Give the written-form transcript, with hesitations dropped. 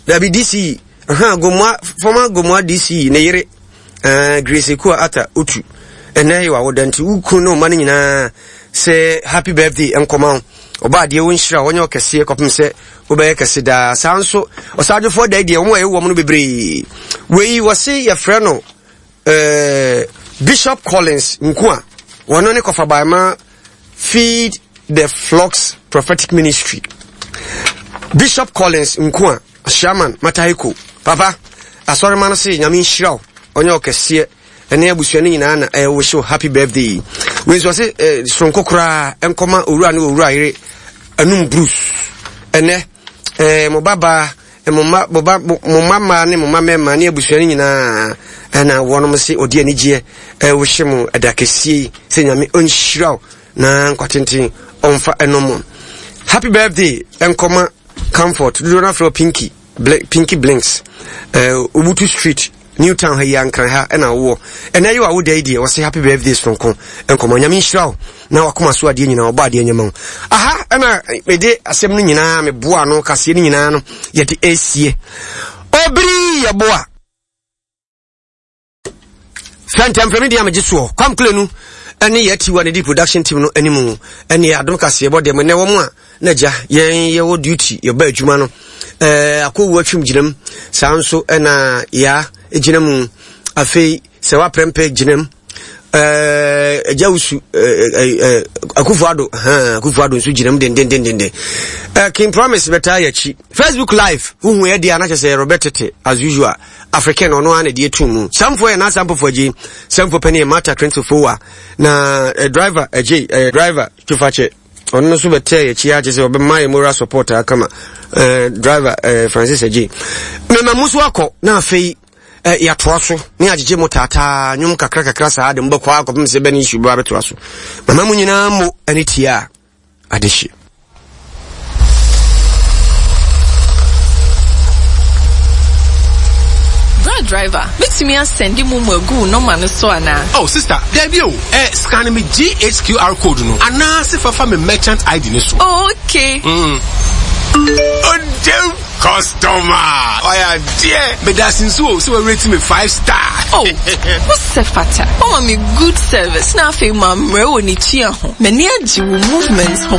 Dabi DC aha Gomoa former Gomoa DC ne yere Grace Ekua Ata Otu ɛnɛ yɛ wawoda nti wo kunu ne ɔma no nyinaa sɛ happy birthday nkɔma wo ɔba adeɛ wo nhyira wɔnyɛ ɔkɛseɛ kɔpem sɛ wobɛyɛ kɛse daa saa nso ɔsaadwofoɔ da deɛ wɔn a ɛwɔ mu no bebree wei wɔse yɛfrɛ no eh, Bishop Collins Nko a wɔno ne kɔfabaema Feed the Flocks Prophetic Ministry. Bishop Collins Nko a Shaman Mataheko. Papa, asɔrema no se nyame nhyira wo, ɔnyɛ ɔkɛseɛ ɛne abusua no nyinaa na ɛwɔ show happy birthday. Wei nso ɔse eh, soronko koraa ɛnkɔma owura ne owura yere anum Bruce. Ɛnɛ eh, mo babaa Mo mma, mo ba, mo mma mmaa ne mo mma mmarima ne abusua no nyinaa ɛna wɔnom se ɔde anigyeɛ ɛwohye mo ɛda kɛseɛ yi sɛ Nyame ɔnhyira wo na nkwa tenten ɔmfa ɛnom mo. Happy birthday ɛnkɔma Comfort dodoɔ no afrɛ Pinky Pinky Blinks ɛɛ Obutu Street New Town ha yi Ankran ha ɛna wowɔ. Ɛnɛ yi wa wo da yi deɛ wɔse happy birthday soronko nkɔmɔ. Nyame nhyira wo na wakoma so adeɛ nyinaa ɔbɔ adeɛ nyɛma wo. Aha ɛna mede asɛm no nyinaa meboa no kaseɛ no nyinaa no yɛde esie. Obiri yɛboa. Fɛntɛmfrɛ me deɛ megye soɔ. Kwam Kulenu ɛne yɛ tiwa ne di production team no anim ɛne adom kaseɛ bɔ deɛ mo nɛ wɔn a na gya yɛn yɛwɔ duty yɛba adwuma no ɛɛ akɔwu atwam gyinam saa nso ɛna yaa gyina mu afei sɛ waprɛmpɛ gyinam ɛɛ agya wusu ɛɛ ɛɛ akufo ado hɛn akufo ado nso gyinam dendendendenden ɛɛ king promise bɛtaa yɛ akyi facebook live huhu yɛ deɛ anakyɛ sɛ yɛrɛbɛ tete as usual african ɔno ara na ɛde etu mu samfo yɛ n'asampofo agye samfo panyin yɛ mata 24 na eh, driver agye eh, driver tufakyɛ ɔno nso bɛtɛɛ yɛn akyi akyɛ sɛ ɔbɛma yɛ moral support akama eh, driver eh, Francis Agye mema mu so akɔ na afei eh, yɛatoa so ne agyegye mo taataa nnwom kakra kakra saa de mobɛkɔ akɔpem sɛ bɛne nsu bɛba bɛtoa so mama mu nyinaa mo ne tie a adehye. Bra driver, mɛtumi asɛnde momo agu wo nɔma no so anaa? Oh sister, daabi o, eh, scan me GHQR code no anaa se fa fa me merchant ID no so. Oh, okay. Mm. Odem customer, ɔyɛ adeɛ. Meda ase nso o, sɛ wɔareti me 5 star. Oh, wo sɛ fata. Wama me good service na afei mammrɛ wɔ ne tua ho. M'ani agye wo movement ho.